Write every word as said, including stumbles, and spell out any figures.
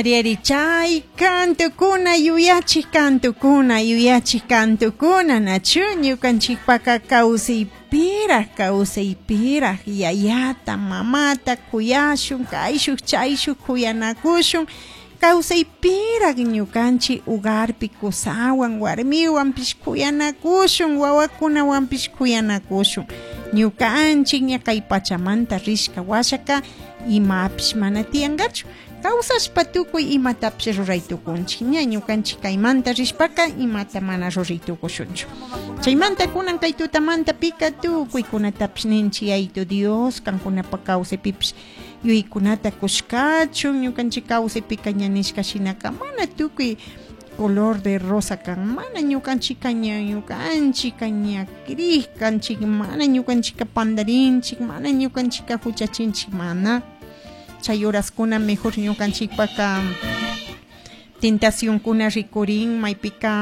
Ariari chay kantukuna yuyachik kantukuna yuyachik kantukuna nachu ñukanchikpaka kawsaypiraj kawsaypiraj yayata mamata kuyashun kayshuk chayshuk kuyanakushun kawsaypiraj ñukanchik ugarpi kusawan warmiwanpish kuyanakushun wawakunawanpish kuyanakushun ñukanchik ña kay pachamanta rishka washaka imapish mana tiyankachu kawsashpa tukuy imatapish ruray tukunchik ña ñukanchik kaymanta rishpaka imata mana ruray tukushunchu chaymanta kunan kay tutamanta pika tukuykunatapish ninchik Yayitu Dios kankunapa kawsaypipish yuyaykunata kushkachun ñukanchik kawsaypika ña nishka shinaka mana tukuy color de rosa kan mana ñukanchika ña ñukanchika ña crik kanchik mana ñukanchika pandarinchik mana ñukanchika huchachinchik mana chay horaskuna mejor ñukanchikpaka tentacionkuna rikurin maypika.